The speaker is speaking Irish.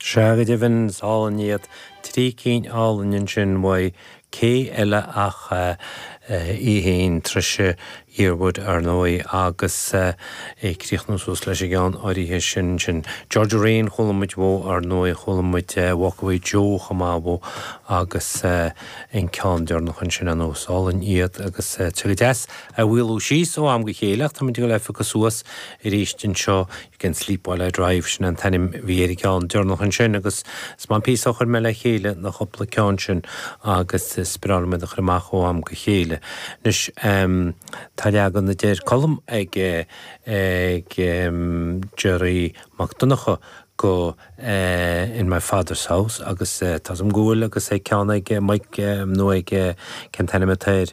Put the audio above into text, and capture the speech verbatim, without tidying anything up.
Sea go deimhin is álainn iad trí cinn álainn ansin uaidh cé eile ach í féin Trisha Yearwood ar ndóigh agus ag críochnú suas leis an gceann áirithe sin sin. Georgia Rain chuala muid uaidh ar ndóigh chuala muid Walk Away Joe chomh maith uaidh agus an ceann deireanach ansin an is álainn iad agus tá go deas a mhaolú síos ó am go chéile ach táimid ag dul a suas arís anseo You can sleep while I drive sin an t-ainm a bhí ar an gceann deireanach ansin agus is maith an píosa a chuir mé le chéile na cúpla ceann sin agus is breá liom iad a chur amach ó am go chéile. Anois tá leagan a deir Colm ag ag Jerry Mac Donncha go in my father's house agus tá an ghúil agus ag ceann ag Mike nó ag cén t-ainm atá air